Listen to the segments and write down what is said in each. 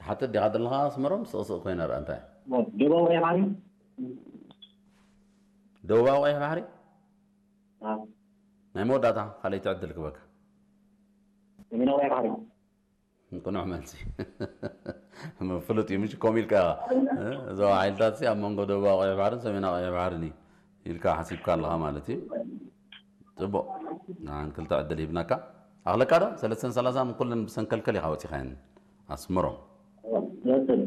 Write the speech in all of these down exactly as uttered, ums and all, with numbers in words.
ሓትት ዲኻ ደለኻ ኣስመሮም? ስቕ ስቕ ኮይነ ርአ እንታይ። ደቡባዊ ቀይሕ ባሕሪ። ደቡባዊ ቀይሕ ባሕሪ? አ። ናይ መወዳእታ ካልኣይቲ ዕድል ክበካ። ሰሜናዊ ቀይሕ ባሕሪ። ቅኑዕ መልሲ። ፍሉጥ እዩ፣ ምሽ ኮም ኢልካ ኢኻ። እ፣ እዞም ሓይልታት ሲ ኣብ መንጎ ደቡባዊ ቀይሕ ባሕርን ሰሜናዊ ቀይሕ ባሕርን እዩ ኢልካ ሓሲብካ ኣለኻ ማለት እዩ። ጽቡቕ። ንዓን ክልተ ዕድል ሂብናካ። ኣኽለካ ዶ? ሰለስተን ሰላሳን ኩለን ብሰንከልከል ኢኻ ወጺኻየን። ኣስመሮም። ንቐጽል።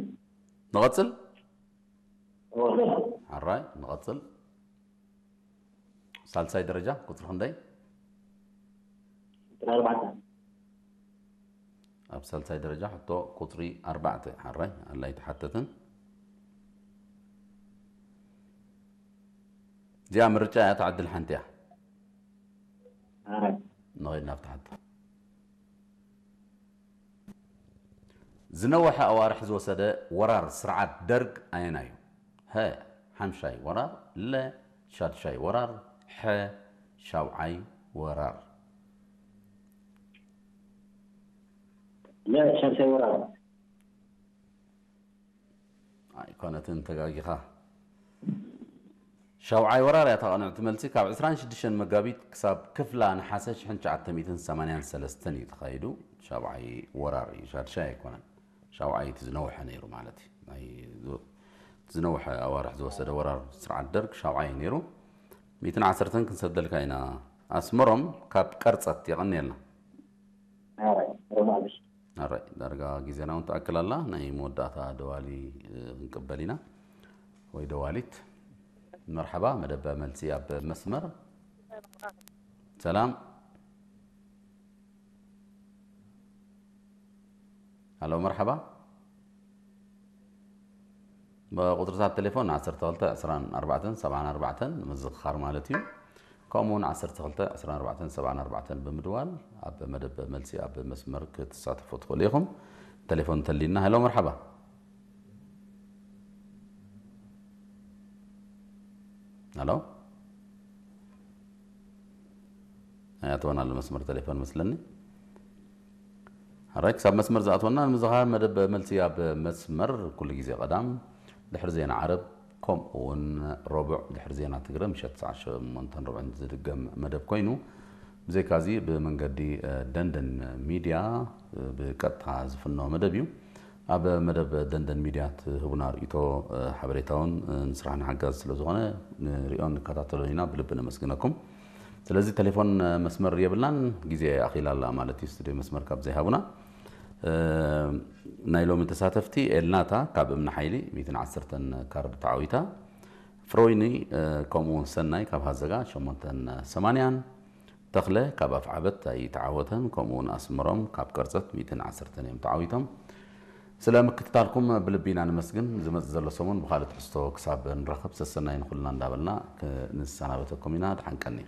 ንቐጽል? እወ። ሓራይ፣ ንቐጽል። ሳልሳይ ደረጃ ቁጽሪ ክንደይ? ቁጽሪ ኣርባዕተ። ኣብ ሳልሳይ ደረጃ ሕቶ ቁጽሪ ኣርባዕተ። ሓራይ፣ ኣላ ኣይተሓተትን። እዚኣ ምርጫ እያ፣ ተዕድል ሓንቲ እያ። ሓራይ። ንኸይድ ናብቲ ሕቶ። ዝነወሐ ኣዋርሕ ዝወሰደ ወራር ስርዓት ደርግ ኣየናዩ? ሀ፣ ሓምሻይ ወራር፣ ለ፣ ሻድሻይ ወራር፣ ሐ፣ ሻውዓይ ወራር። ለ፣ ሻድሻይ ወራር። ኣይኮነትን፣ ተጋጊኻ። ሻውዓይ ወራር እያ እታ ቅንዕቲ መልሲ። ካብ ዕስራን ሽዱሽተን መጋቢት ክሳብ ክፍላ ነሓሰ ሽሕን ትሽዓተ ሚእትን ሰማንያን ሰለስተን እዩ ተኻይዱ። ሻውዓይ ወራር እዩ፣ ሻድሻይ ኣይኮነን። ሻውዓይ እቲ ዝነውሐ ነይሩ ማለት እዩ። ናይ ዝ-፣ እቲ ዝነውሐ ኣዋርሕ ዝወሰደ ወራር ስርዓት ደርግ ሻውዓይ እዩ ነይሩ። ሚእትን ዓሰርተን ክንሰደልካ ኢና። ኣስመሮም ካብ ቀርጸት የቐንየልና። ኣራይ፣ ሮማልሽ። ኣራይ፣ ዳርጋ ግዜና እውን ትኣክል ኣላ። ናይ መወዳእታ ደዋሊ፣ እ፣ ክንቅበል ኢና። ወይ ደዋሊት። መርሐባ፣ መደብ መልሲ ኣብ መስመር። ሰላም። ሃሎ፣ መርሐባ። ብቁጽርታት ቴሌፎን ዓሰርተ ክልተ ዕስራን ኣርባዕተን ሰብዓን ኣርባዕተን ንምዝኽኻር ማለት እዩ። ከምኡውን ዓሰርተ ክልተ ዕስራን ኣርባዕተን ሰብዓን ኣርባዕተን ብምድዋል ኣብ መደብ መልሲ ኣብ መስመር ክትሳተፉ ትኽእሉ ኢኹም። ቴሌፎን እንተሊና። ሄሎ፣ መርሐባ። ሄሎ። ኣያትወን ኣሎ መስመር ቴሌፎን መስለኒ። ሕራይ ክሳብ መስመር ዝኣትወና ንምዝኻር መደብ መልሲ ኣብ መስመር ኩሉ ግዜ ቀዳም ድሕሪ ዜና ዓረብ ከምኡ እውን ረቡዕ ድሕሪ ዜና ትግረ ምሸት ሰዓት ሸሞንተን ርብዕን ዝድገም መደብ ኮይኑ፣ ብዘይካዚ ብመንገዲ፣ እ፣ ደንደን ሚድያ፣ እ፣ ብቀጥታ ዝፍኖ መደብ እዩ። ኣብ መደብ ደንደን ሚድያ ትህቡና ርእይቶ፣ እ፣ ሓበሬታውን፣ እ፣ ንስራሕና ሓጋዚ ስለ ዝኾነ ንርእዮን ንከታተሎን ኢና፣ ብልቢ ነመስግነኩም። ስለዚ ቴሌፎን መስመር የብልናን፣ ግዜ ኣኺላ ኣላ ማለት እዩ፣ ስቱድዮ መስመር ካብ ዘይሃቡና። እ፣ ናይ ሎሚ ተሳተፍቲ ኤልናታ ካብ እምኒ ሓይሊ ሚእትን ዓሰርተን ካርድ ተዓዊታ፣ ፍሮይኒ፣ እ፣ ከምኡ እውን ሰናይ ካብ ሃዘጋ ሸሞንተን ሰማንያን፣ ተኽለ ካብ ኣፍዓበት ኣይተዓወተን፣ ከምኡ እውን ኣስመሮም ካብ ቀርጸት ሚእትን ዓሰርተን እዮም ተዓዊቶም። ስለ ምክትታልኩም ብልቢ ኢና ነመስግን። ዝመጽእ ዘሎ ሰሙን ብኻልእ ትሕዝቶ ክሳብ ንራኸብ ሰሰናይ ንኹልና እንዳበልና ክንሰናበተኩም ኢና። ደሓን ቀኒ።